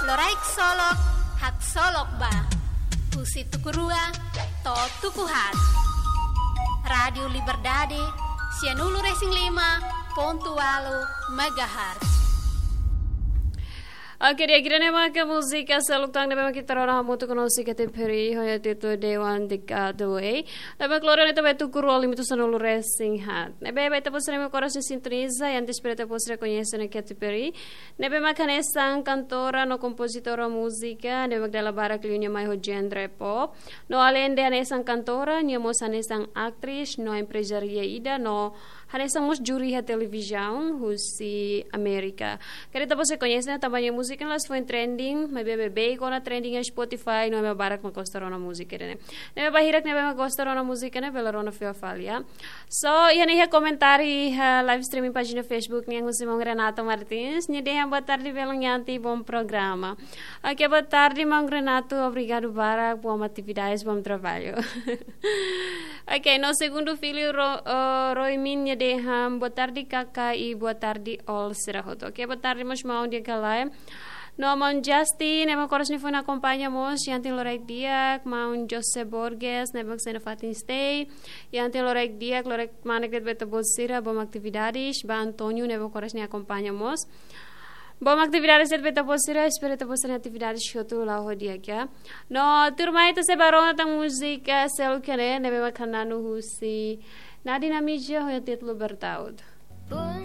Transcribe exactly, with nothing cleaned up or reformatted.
Loraik Solok, haksolok ba. Husi tuku rua to'o tuku haat. Rádiu Liberdade, sianulu-resin-lima pontu ualu megahertz. Oke, di'ak, ida-ne'e maka múzika seluk tan ne'ebé mak ita rona hamutuk ho Sica Teperi, ho nia títulu Dewan de Gadway. Ne'ebé mak lori ona ita ba tuku rua limitu sanulu-resin-haat. Ne'ebé ba ita-boot sira ne'ebé mak oras ne'e sintoniza, i antes para ita-boot sira koñese ona Katy Perry, ne'ebé mak hanesan kantora no kompozitora múzika, ne'ebé mak dala barak liu nia mai ho genre pop. No aleinde hanesan kantora, nia mós hanesan atriz, no emprezária ida, no hanesan mós júri iha televizaun husi Amérika. Karik ita-boot sira koñese ona tanba nia múzika ne'e la'ós foin trending, maibé beibeik ona trending iha Spotify, no ema barak mak gosta rona múzika ida-ne'e. Ne'ebé ba hirak ne'ebé mak gosta rona múzika ne'e, bele rona fila fali, ya. So, iha ne'e iha komentáriu iha live streaming pájina Facebook nian husi maun Renato Martins, nia dehan boa tarde belun Yanti, bom programa. Oke, boa tarde maun Renato, obrigadu barak, bom atividades, bom trabalho. Oke, no segundu filho Ro, eh, Roimin nia dehan boa tarde Kaka i boa tarde all sira hotu. Oke, boa tarde mós maun di'ak ka lae. No maun Justin, ne'ebé mak oras ne'e foin akompaña mós, Yanti loraik di'ak, maun José Borges, ne'ebé mak sei iha fatin stay, Yanti loraik di'ak, loraik kmanek de'it ba ita-boot sira, bom atividades, ba António, ne'ebé mak oras ne'e akompaña mós. Bom atividades de'it ba ita-boot sira, espera ita-boot sira-nia atividades hotu la'o ho di'ak, ya. No, tuirmai ita sei bá rona tan múzika seluk ida-ne'e, ne'ebé mak hananu husi Nadine Amijo, ho nia títulu Bertaut. Por